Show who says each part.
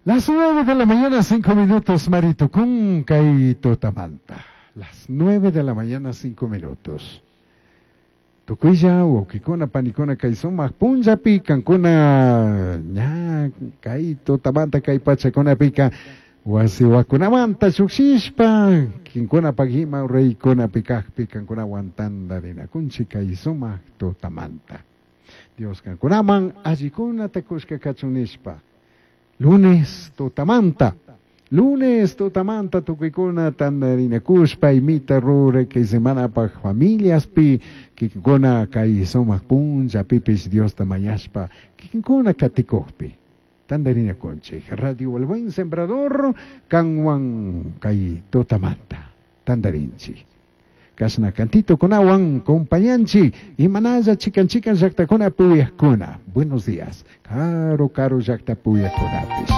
Speaker 1: Las 9 de la mañana, 5 minutos, Maritucún, kay tutamanta. Las 9 de la mañana, 5 minutos. Tukuylla wawkikuna panikuna kay sumak punllapi kankuna ña kay tutamanta kay pachakunapika wasiwakunamanta llukshishpa kinkunapak ima reykunapi kakpi kankunawan tantarinakunchik kay sumak tutamanta. Dios kankunaman allikunata kushka kachun nishpa. Lunes tutamanta. Lunes tutamanta tukuykuna tantarinakushpa imita ruray kay semanapaj familiaspi kikinkuna kay sumak punllapipish Diosta mañashpa kikinkuna katikukpi tantarinakunchik. Radio El Buen Sembrador kanwan kay tutamanta tantarinchik. Kashna cantitokunawan compañanchik imanalla chikan chikan llaqtakuna puyakuna. Buenos días. Karu karu llaqta puyakkunapis.